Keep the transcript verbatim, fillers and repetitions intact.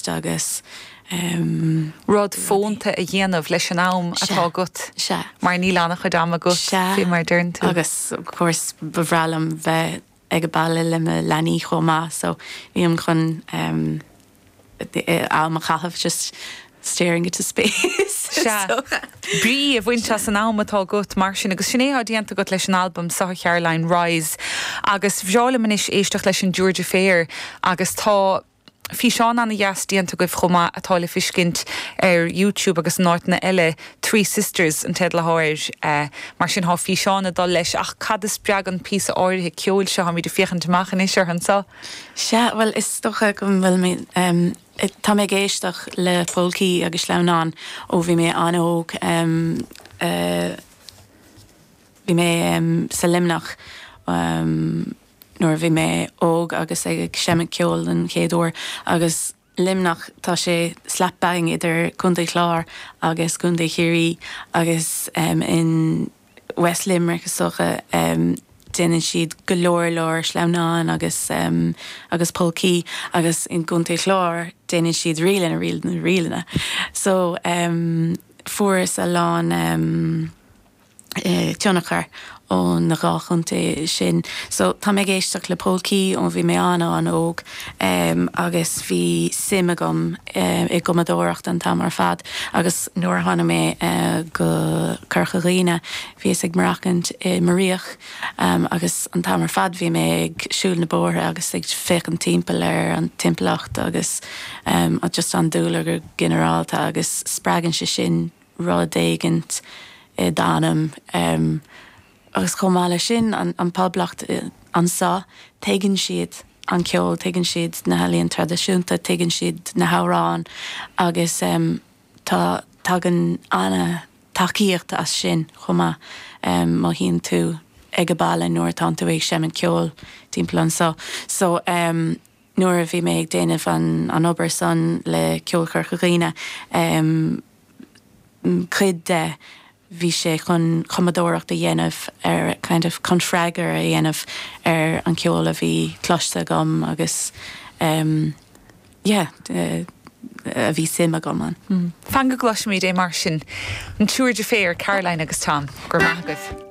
post agus um, Rud fónta a dhéanamh leis an am atá agat Sea. mar níl an-chuid ama agat fé mar deireann tú. Agus of course ba bhreá liom bheith ag baile le mo leanaí chomh maith so bím chun um, am a chaitheamh just staring into space. So. Brí a bhaint as an am atá agat mar sin agus sin é atá déanta agat leis an album seo Caroline Rise agus bhreá liom anois éisteacht leis an Georgia Fair agus tá físeán an-deas déanta agaibh chomh maith atá le feiscint ar YouTube agus in áiteanna eile Three Sisters an teideal atá air uh, mar sin tá físeán ag dul leis ach cad a spreag an píosa áirithe ceoil seo táimid ag féachaint amach anois ar anseo. Sea well is dócha go bhfuil mé um, tá mé ag éisteacht le polcaí agus sleamhnáin ó bhí mé an-óg um, uh, bhí mé um, sa Luimneach um, nuair bhí mé óg agus ag seinm ceoil an chéad uair agus Luimneach tá sé slap bang idir Contae Chláir agus Contae Chiarraí agus um, in West Limerick is dócha um, déanann siad go leor leor sleamhnáin agus um, agus polcaí agus in gContae Chláir déanann siad ríleanna ríleanna ríleanna. So um, fuaireas a lán um, eh, tionchar ó na dhá chontae sin. So tá mé ag éisteacht le polcaí ó bhí mé an an-óg um, agus bhí suim agam um, i gcumadóireacht an t-am ar fad agus nuair a tháinig mé uh, go Corca Dhuibhne bhíos ag maireachtaint i Mairíoch um, agus an t-am ar fad bhí mé ag siúl na bóithre agus ag féachaint timpeall ar an timpeallacht agus um, just an dúlra go ginearálta agus spreagann sé sin rud éigint i d'anam um, agus chomh maith leis sin an, an poblacht eh, anseo tuigeann siad an ceol, tuigeann siad na healaíona traidisiúnta, tuigeann siad na hamhráin agus um, tá tagann an-tacaíocht as sin chomh maith um, mothaíonn tú ag baile nuair atá tú ag seinm ceol timpeall anseo. So um, nuair a bhí mé ag déanamh an, an obair san le Ceol Chorca Dhuibhne um, cuid de bhí sé chun cumadóireacht a dhéanamh ar kind of chun freagra a dhéanamh ar an ceol a bhí cloiste agam agus um, yeah, uh, a bhí suim agam ann. Mm. Fan go gcloisfimid é mar sin an Tour de Fair Caroline agus Tom gur maith agaibh.